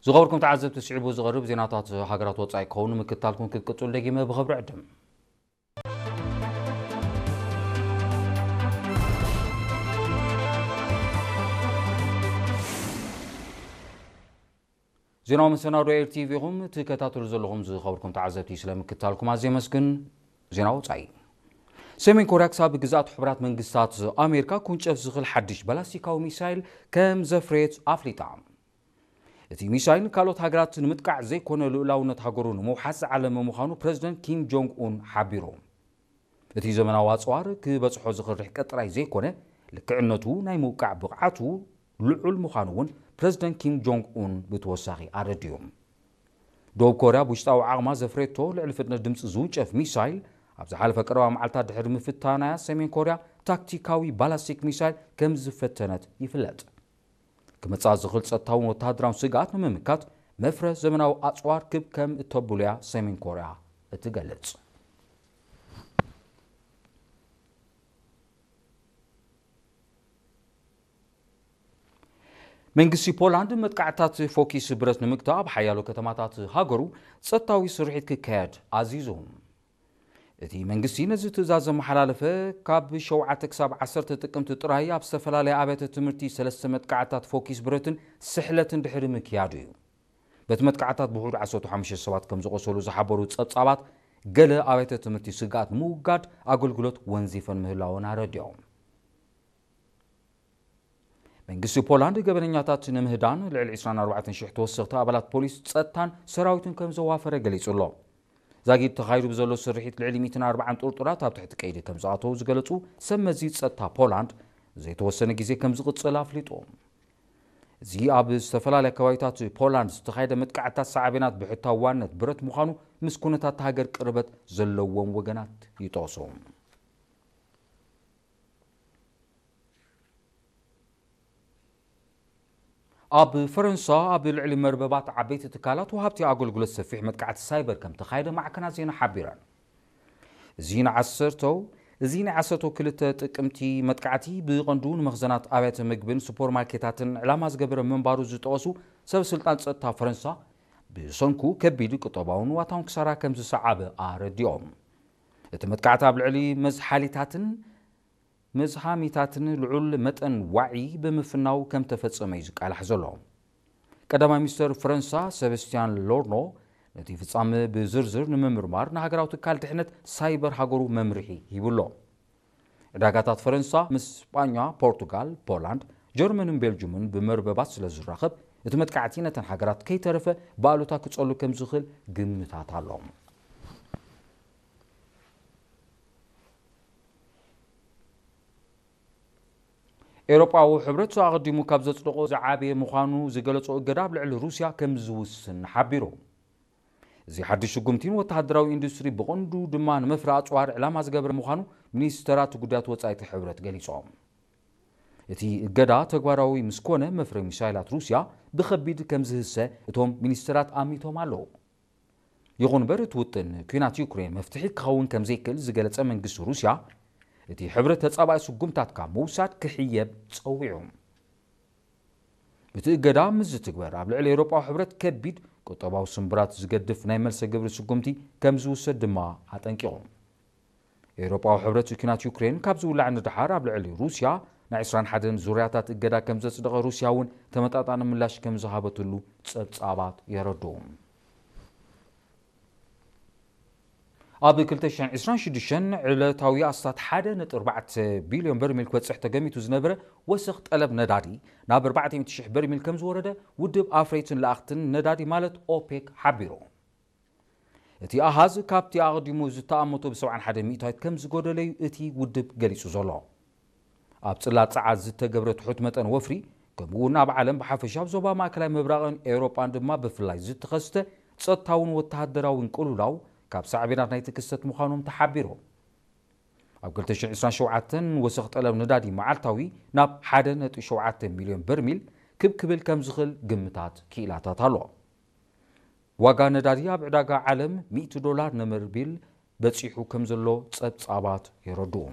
ዝኸበርኩም ተዓዘብቲ፣ ስዒቡ ዝቐርብ ዜናታት ሃገራት ወጻኢ ክኸውን ምክታልኩም ክትቅጽሉ ደጊመ ብኽብሪ ዕድም። ዜናዊ መሰናዶ ኤል ቲ ቪ ኢኹም ትከታተሉ ዘለኹም። ዝኸበርኩም ተዓዘብቲ፣ ስለ ምክታልኩም ኣዝየ የመስግን። ዜና ወጻኢ። ሰሜን ኮርያ ክሳብ ግዝኣት ሕቡራት መንግስታት ኣሜሪካ ክውንጨፍ ዝኽእል ሓድሽ ባላስቲካዊ ሚሳይል ከም ዘፍረየት ኣፍሊጣ። እቲ ሚሳይል ካልኦት ሃገራት ንምጥቃዕ ዘይኮነ፣ ልኡላውነት ሃገሩ ንምውሓስ ዝዓለመ ምዃኑ ፕረዚደንት ኪም ጆንግ ኡን ሓቢሩ። እቲ ዘመናዊ ኣጽዋር ክበጽሖ ዝኽእል ርሕቀት ጥራይ ዘይኮነ፣ ልክዕነቱ ናይ ምውቃዕ ብቕዓቱ ልዑል ምዃኑ እውን ፕረዚደንት ኪም ጆንግ ኡን ብተወሳኺ ኣረዲኡ። ደቡብ ኮርያ ብውሽጣዊ ዓቕማ ዘፍረየቶ ልዕሊ ፍጥነት ድምፂ ዝውንጨፍ ሚሳይል፣ ኣብ ዝሓለፈ ቀረባ መዓልታት ድሕሪ ምፍታናያ፣ ሰሜን ኮርያ ታክቲካዊ ባላስቲክ ሚሳይል ከም ዝፈተነት ይፍለጥ። ክመጽኣ ዝኽእል ጸጥታውን ወተሃደራውን ስግኣት ንምምካት፣ መፍረ ዘመናዊ ኣጽዋር ክብ ከም እተብሉያ ሰሜን ኮርያ እትገልጽ። መንግስቲ ፖላንድ መጥቃዕታት ፎኪስ ብረት ንምግታእ፣ ኣብ ሓያሎ ከተማታት ሃገሩ ጸጥታዊ ስርሒት ክካየድ ኣዚዙ። እቲ መንግስቲ ነዚ ትእዛዝ ዘመሓላለፈ፣ ካብ ሸውዓተ ክሳብ ዓሰርተ ጥቅምቲ ጥራይ ኣብ ዝተፈላለያ ኣብያተ ትምህርቲ ሰለስተ መጥቃዕታት ፎኪስ ብረትን ስሕለትን ድሕሪ ምክያዱ እዩ። በቲ መጥቃዕታት ብውሑድ ዓሰርተ ሓሙሽተ ሰባት ከም ዝቖሰሉ ዝሓበሩ ጸብጻባት፣ ገለ ኣብያተ ትምህርቲ ስግኣት ንምውጋድ ኣገልግሎት ወንዚፈን ምህላወን ኣረዲኦም። መንግስቲ ፖላንድ ገበነኛታት ንምህዳን ልዕሊ ዕስራን ኣርባዕተን ሽሕ ተወሰኽቲ ኣባላት ፖሊስ፣ ጸጥታን ሰራዊትን ከም ዘዋፈረ ገሊጹ ኣሎ። ዛጊድ ተኻይዱ ብዘሎ ስርሒት፣ ልዕሊ ሚእትን ኣርባዓን ጥርጡራት ኣብ ትሕቲ ቀይዲ ከም ዝኣተዉ ዝገለጹ ሰብ መዚ ጸጥታ ፖላንድ፣ ዘይተወሰነ ግዜ ከም ዝቕጽል ኣፍሊጡ። እዚ ኣብ ዝተፈላለያ ከባቢታት ፖላንድ ዝተኻየደ መጥቃዕታት ሳዕቤናት ብሕታውነት ብረት ምዃኑ ምስ ኩነታት ሃገር ቅርበት ዘለዎም ወገናት ይጠቕሱ። ኣብ ፈረንሳ ኣብ ልዕሊ መርበባት ዓበይቲ ትካላት ወሃብቲ ኣገልግሎት ሰፊሕ መጥቃዕቲ ሳይበር ከም ተኻየደ ማዕከናት ዜና ሓቢረን። እዚ ንዓሰርተው፣ እዚ ናይ ዓሰርተው ክልተ ጥቅምቲ መጥቃዕቲ ብቐንዱ ንመኽዘናት ኣብያተ ምግብን ሱፐርማርኬታትን ዕላማ ዝገበረ ምንባሩ ዝጠቐሱ ሰብ ስልጣን ጸጥታ ፈረንሳ፣ ብሰንኩ ከቢድ ቁጠባውን ዋታውን ክሳራ ከም ዝሰዓበ ኣረዲኦም። እቲ መጥቃዕቲ ኣብ ልዕሊ መዝሓሊታትን መዝሃሚታትን ልዑል መጠን ዋዒ ብምፍናው ከም ተፈጸመ እዩ ዝቃላሕ ዘሎ። ቀዳማይ ሚኒስተር ፈረንሳ ሰባስቲያን ሎርኖ፣ ነቲ ፍጻመ ብዝርዝር ንምምርማር ንሃገራዊ ትካል ድሕነት ሳይበር ሃገሩ መምርሒ ሂቡ ኣሎ። ዕዳጋታት ፈረንሳ ምስ ስጳኛ፣ ፖርቱጋል፣ ፖላንድ፣ ጀርመንን ቤልጅምን ብመርበባት ስለ ዝራኸብ፣ እቲ መጥቃዕቲ ነተን ሃገራት ከይተረፈ ብኣሉታ ክጸሉ ከም ዝኽእል ግምታት ኣሎ። ኤውሮጳዊ ሕብረት ኣቐዲሙ ካብ ዘጽደቖ ዝዓበየ ምዃኑ ዝገለጾ እገዳ ኣብ ልዕሊ ሩስያ ከም ዝውስን ሓቢሩ። እዚ ሓድሽ ስጉምቲ ንወተሃደራዊ ኢንዱስትሪ፣ ብቐንዱ ድማ ንመፍረ ኣጽዋር ዕላማ ዝገበረ ምዃኑ ሚኒስተራት ጉዳያት ወጻኢ እቲ ሕብረት ገሊጾም። እቲ እገዳ ተግባራዊ ምስ ኮነ፣ መፍረ ሚሳይላት ሩስያ ብኸቢድ ከም ዝህሰ እቶም ሚኒስተራት ኣሚቶም ኣለዉ። ይኹን እምበር፣ እቲ ውጥን ኲናት ዩክሬን መፍትሒ ክኸውን ከም ዘይክእል ዝገለጸ መንግስቲ ሩስያ፣ እቲ ሕብረት ተጻባኢ ስጉምታት ካብ ምውሳድ ክሕየብ ጸዊዑ። እቲ እገዳ ምስ ዝትግበር፣ ኣብ ልዕሊ ኤውሮጳዊ ሕብረት ከቢድ ቁጠባዊ ስምብራት ዝገድፍ ናይ መልሰ ግብሪ ስጉምቲ ከም ዝውሰድ ድማ ኣጠንቂቑ። ኤውሮጳዊ ሕብረት ኲናት ዩክሬን ካብ ዝውላዕ ንደሓር፣ ኣብ ልዕሊ ሩስያ ናይ ዕስራን ሓደን ዙርያታት እገዳ ከም ዘጽደቐ፣ ሩስያ እውን ተመጣጣኒ ምላሽ ከም ዝሃበትሉ ጸብጻባት የረድኡ። ኣብ ክልተ ሽሕን ዕስራን ሽዱሽተን ዕለታዊ ኣስታት ሓደ ነጥቢ ኣርባዕተ ቢልዮን በርሚል ክበጽሕ ተገሚቱ ዝነበረ ወሰኽ ጠለብ ነዳዲ፣ ናብ ኣርባዕተ ሚእቲ ሽሕ በርሚል ከም ዝወረደ ውድብ ኣፍረይትን ለኣኽትን ነዳዲ፣ ማለት ኦፔክ፣ ሓቢሩ። እቲ ኣሃዝ ካብቲ ኣቐዲሙ ዝተኣመቶ ብሰብዓን ሓደን ሚእታዊት ከም ዝጎደለ እዩ እቲ ውድብ ገሊጹ ዘሎ። ኣብ ጽላት ጸዓት ዝተገብረ ትሑት መጠን ወፍሪ፣ ከምኡ እውን ኣብ ዓለም ብሓፈሻ፣ ኣብ ዞባ ማእከላይ ምብራቕን ኤውሮጳን ድማ ብፍላይ ዝተኸስተ ጸጥታውን ወተሃደራውን ቅልውላው ካብ ሳዕቤናት ናይቲ ክስተት ምዃኖም ተሓቢሩ። ኣብ ክልተ ሽሕን ዕስራን ሸውዓተን ወሰኽ ጠለብ ነዳዲ መዓልታዊ ናብ ሓደ ነጥቢ ሸውዓተ ሚልዮን በርሚል ክብ ክብል ከም ዝኽእል ግምታት ክኢላታት ኣሎ። ዋጋ ነዳዲ ኣብ ዕዳጋ ዓለም ሚእቲ ዶላር ንበርሚል በጺሑ ከም ዘሎ ጸብጻባት የረድኡ።